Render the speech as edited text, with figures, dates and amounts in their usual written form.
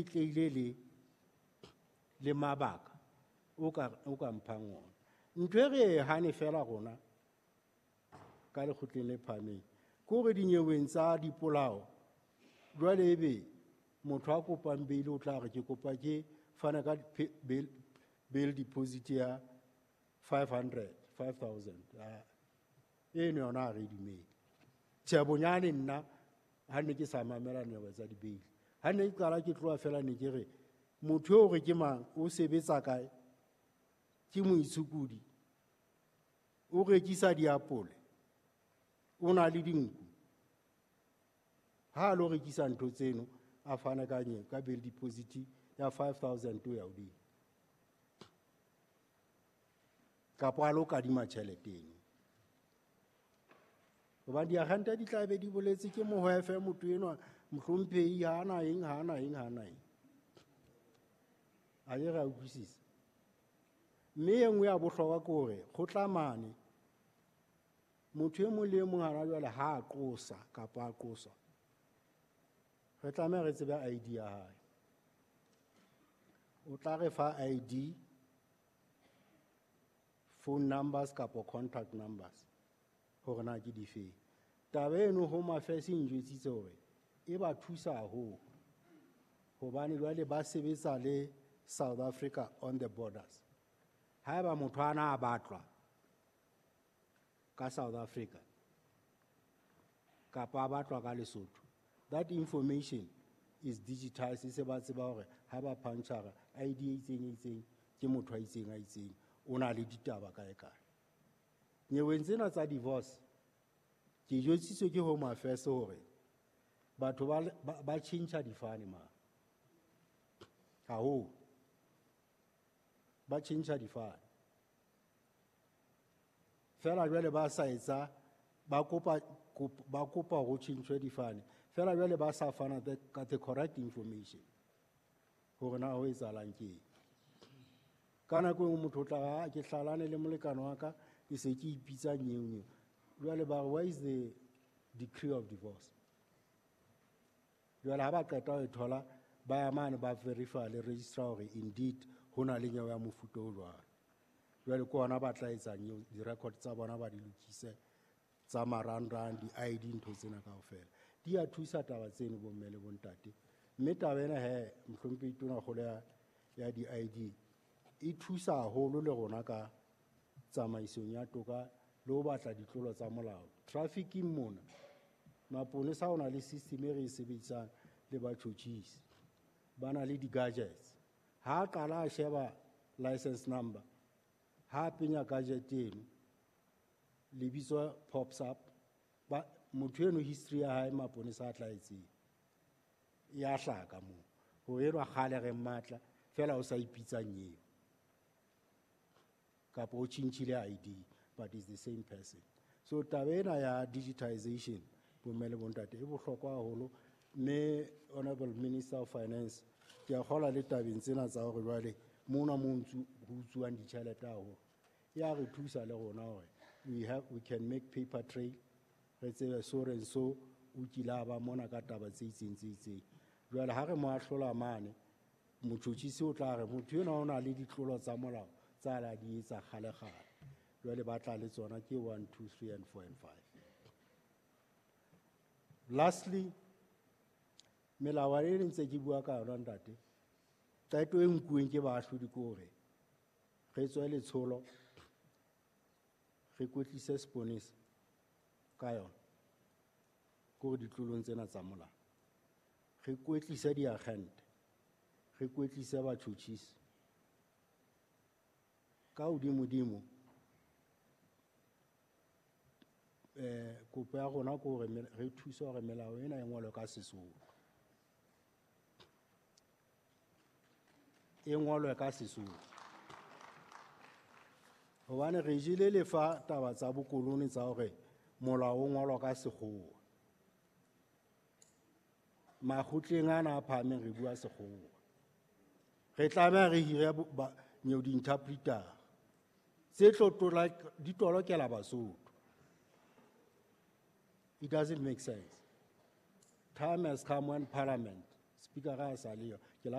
Tleile le mabaka o ka mphang ona. Ntho e re e hane fela rona ka lekgotleng le phahameng ke hore dinyeweng tsa dipolao jwale ebe motho a kopang bail o tla re ke kopa ke fana ka bail deposit ya 500, 5000. Eno yona ha re e dumele. Tjhe, bonyane nna ha ne ke sa mamela nyewe tsa di-bail, ha ne ke qala ke tloha fela ne ke re motho eo re ke mang, o sebetsa kae, ke moitshokodi, o rekisa diapole, o na le dinku. Ha a lo rekisa ntho tseno, a fana ka nye ka bail deposit ya 5000 ho ya hodimo, kapa a lo kadima tjhelete eno. Hobane diagente di tla be di boletse ke mohwefe motho enwa, mohlomphehi ha ana eng, ha ana eng, ha ana eng. A ke re a utlwisisa. Mme e nngwe ya bohlokwa ke hore kgotla mane motho e mong le e mong hana jwale ha a qosa kapa a qoswa, re tlameha re tsebe ID ya hae. O tla re fa ID, phone numbers kapa contact numbers hore na ke difeng. Taba eno Home Affairs e njwetsitse hore e ba thusa haholo hobane jwale ba sebetsa le South Africa on the borders. Haeba motho ana a batlwa ka South Africa kapa a batlwa ka Lesotho, that information is digitized. Se ba tseba hore ha ba punchara ID e itseng e itseng ke motho a itseng a itseng, o na le ditaba kae kae. Nyeweng tsena tsa divorce, ke jwetsitswe ke Home Affairs hore batho ba tjhentjha difane ma haholo, ba tjhentjha difane fela jwale ba sa etsa, ba kopa hore ho tjhentjhwe difane fela jwale ba sa fana ka the correct information hore na ho etsahalang ke eng. Ka nako e nngwe motho o tla re, ah, ke hlalane le molekane wa ka, ke se ke ipitsa nyeo nyeo. Jwale ba re, where is the decree of divorce? Jwale ha ba qeta ho e thola, ba ya mane ba verify le registrar hore indeed ho na le nyewe ya mofuta o jwalo. Jwale ke hona ba tla etsa nyeo, di-record tsa bona ba di lokise, tsa marangrang, di-ID, ntho tsena kaofela. Di a thusa taba tseno bomme le bontate. Mme taba ena he, mohlomphehi Tonakgolo ya di-ID, e thusa haholo le rona ka tsamaisong ya toka le ho batla ditlolo tsa molao. Trafficking mona, maponesa a na le system e re e sebedisang le batjhotjhisi. Ba na le di-gadgets. Ha a qala a sheba license number, ha a penya gadget eno, lebitso pops up, ba motho eno history ya hae maponesa a tla e tseba. Ya hlaka moo. Hore enwa kgale re mmatla, fela o sa ipitsa nyeo. Kapa o tjhentjhile ID, but it's the same person. So taba ena ya digitization, bomme le bontate, e bohlokwa haholo. Mme Honorable Minister of Finance, ke a kgolwa le tabeng tsena tsa hore jwale mona mo ho utsuwang ditjhelete haholo, ya re thusa le rona hore we can make paper trail, re tsebe so re so o kile a ba mona ka taba tse itseng tse itseng. Jwale ha re mo ahlola mane, motjhotjhisi o tla re motho enwa o na le ditlolo tsa molao tsa la di etsa kgale kgale. Jwale ba tla le tsona ke 1, 2, 3 and 4 and 5. Lastly, melawana e ntse ke bua ka yona ntate, qeto e nkuweng ke baahlodi ke hore re tswe letsholo, re kwetlise seponesa ka yona, ke hore ditlolong tsena tsa molao, re kwetlise diagente, re kwetlise batjhotjhisi. Ka hodimodimo, kopo ya rona ke hore re thuse hore melao ena e ngolwe ka Sesotho. E ngolwe ka Sesotho. Hobane re jele lefa taba tsa bokolone tsa hore molao o ngolwa ka Sekgowa. Makgotleng ana a phahameng re bua Sekgowa. Re tlameha re hire nyeo di-interpreter tse tlo di tolokela Basotho. It doesn't make sense. Time has come when Parliament, Speaker a sa leyo,